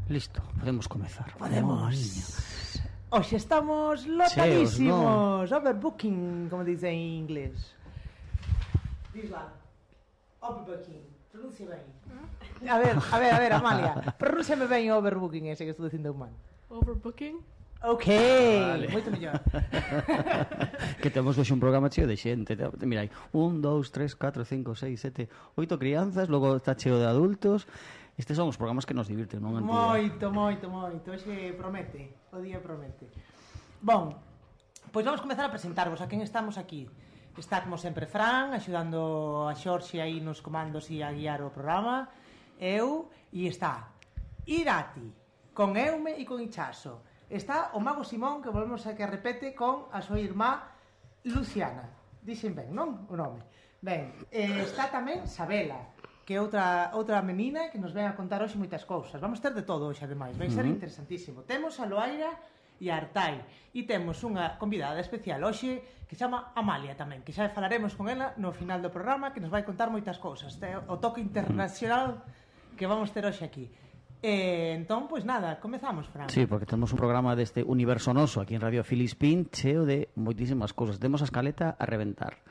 Listo, podemos comezar. Podemos. Hoxe estamos lotadísimos. Overbooking, como dice en inglés. Disla. Overbooking. Pronuncia ben. A ver, Amalia. Pronúnciame ben o overbooking ese que estou dicindo mal. Overbooking? Ok, vale. Moito mellor. Que temos hoxe un programa cheo de xente. Mira aí, 1, 2, 3, 4, 5, 6, 7, 8 crianzas. Logo está cheo de adultos. Estes son os programas que nos divirten, non? Moito. Hoxe promete, o día promete. Bon, pois vamos comezar a presentarvos a quen estamos aquí. Está, como sempre, Fran, axudando a Xorxe aí nos comandos e a guiar o programa. Eu, e está Irati, con Eume e con Ichaso. Está o mago Simón, que volvemos a que repete con a súa irmá Luciana. Dixen ben, non? O nome. Ben, está tamén Sabela, que é outra menina que nos ven a contar hoxe moitas cousas. Vamos ter de todo hoxe, ademais. Vai ser interesantísimo. Temos a Loaira e a Artai. E temos unha convidada especial hoxe que se chama Amalia tamén, que xa falaremos con ela no final do programa, que nos vai contar moitas cousas. O toque internacional que vamos ter hoxe aquí. Entón, pois nada, comezamos, Fran. Sí, porque temos un programa deste universo noso aquí en Radio Filispín cheo de moitísimas cousas. Temos a escaleta a reventar.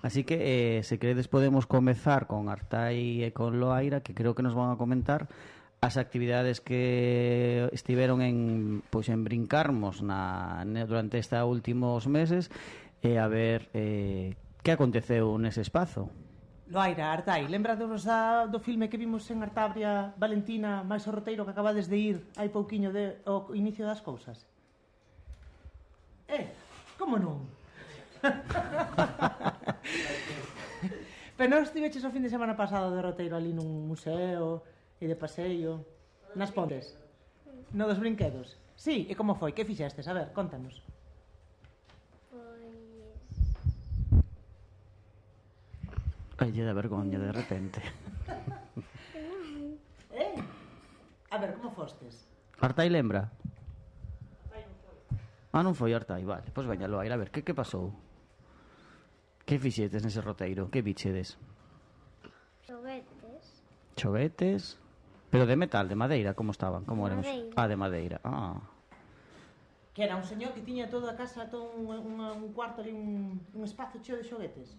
Así que, se queredes, podemos comezar con Artai e con Loaira, que creo que nos van a comentar as actividades que estiveron en Brincarmos durante estes últimos meses, e a ver que aconteceu nese espazo. Loaira, Artai, lembrados do filme que vimos en Artabria, Valentina, máis o roteiro que acabades de ir hai pouquiño ao inicio das cousas? Como non? Pero non estiveches o fin de semana pasado de roteiro ali nun museo e de paseio nas Pontes? No dos brinquedos? Sí, e como foi? Que fixestes? A ver, contanos. Ai, lle da vergonha de repente. A ver, como fostes? Artai lembra? Non foi Artai, vale. Pois veña, Loaira, a ver, que pasou? Que fixetes nese roteiro? Que bichedes? Xoguetes? Pero de metal, de madeira, como estaban? Como eran? De madeira. Que era un señor que tiña toda a casa, todo un cuarto ali, un espazo cheo de xoguetes?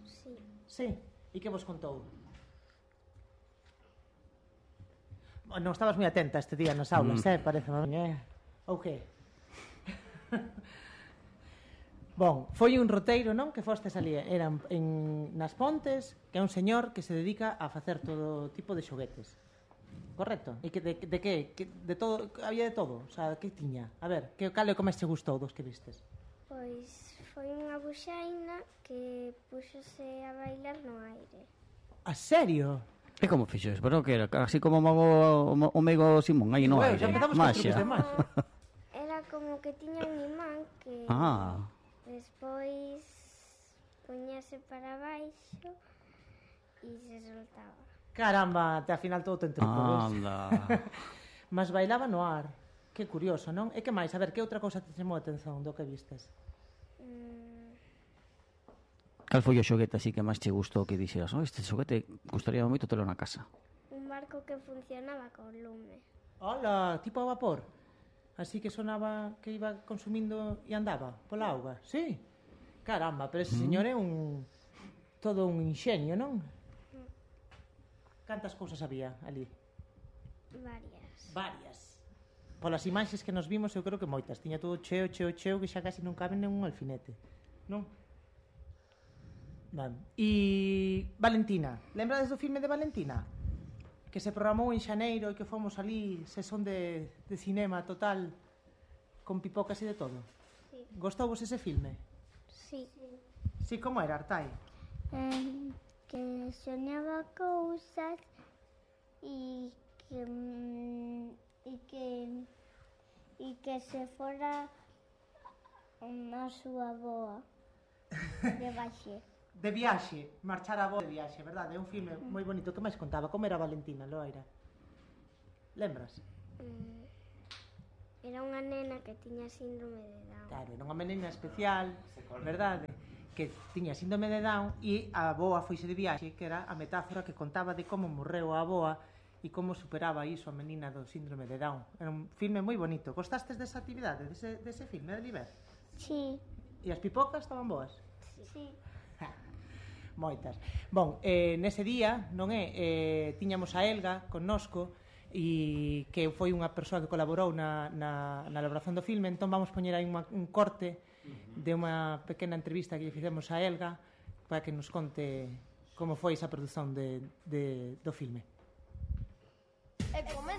Sí. E que vos contou? Non estabas moi atenta este día nas aulas, parece, ou que? Bon, foi un roteiro, non? Que fostes ali, eran nas Pontes, que é un señor que se dedica a facer todo tipo de xoguetes. Correcto? E que de que? De todo, había de todo, o sea, que tiña? A ver, cal é o que máis che gustou dos que vistes? Pois foi unha buxaina que púxose a bailar no aire. A serio? E como fixo? Pero que era así como o meigo Simón, aí no aire. Xa empezamos con trucos de máxia. Era como que tiña un imán que despois puñase para baixo e se soltaba. Caramba, até a final todo ten trucos. Anda. Mas bailaba no ar. Que curioso, non? E que máis? A ver, que outra cousa te chamou a atención do que vistes? Cal foi o xoguete así que máis che gustou, que dixeras, este xoguete gustaría moito telo na casa? Un barco que funcionaba con lume. Hola, tipo a vapor? Así que sonaba que iba consumindo e andaba pola auga? Sí? Caramba, pero ese señor é todo un inxenio, non? Cantas cousas había ali? Varias. Polas imaxes que nos vimos, eu creo que moitas. Tiña todo cheo, que xa casi non cabe nen un alfinete, non? Vale. E Valentina, lembrades do filme de Valentina? Que se programou en xaneiro e que fomos ali, sesión de cinema total, con pipocas e de todo. Sí. Gostouvos ese filme? Sí. Sí, como era, Artai? Que soñaba cousas e que se fora na súa boa de baixe. De viaxe, marchar a boa de viaxe, verdade? É un filme moi bonito. Que máis contaba? Como era Valentina, Loaira? Lembras? Era unha nena que tiña síndrome de Down. Claro, era unha menina especial, verdade? Que tiña síndrome de Down e a avoa foise de viaxe, que era a metáfora que contaba de como morreu a avoa e como superaba iso a menina do síndrome de Down. Era un filme moi bonito. Gostastes desa actividade, dese filme, de Liber? Sí. E as pipocas estaban boas? Sí. Moitas. Bon, nese día, non é, tiñamos a Elga connosco, e que foi unha persoa que colaborou na elaboración do filme, entón vamos poñer aí un corte de unha pequena entrevista que lle fizemos a Elga para que nos conte como foi esa produción do filme. E come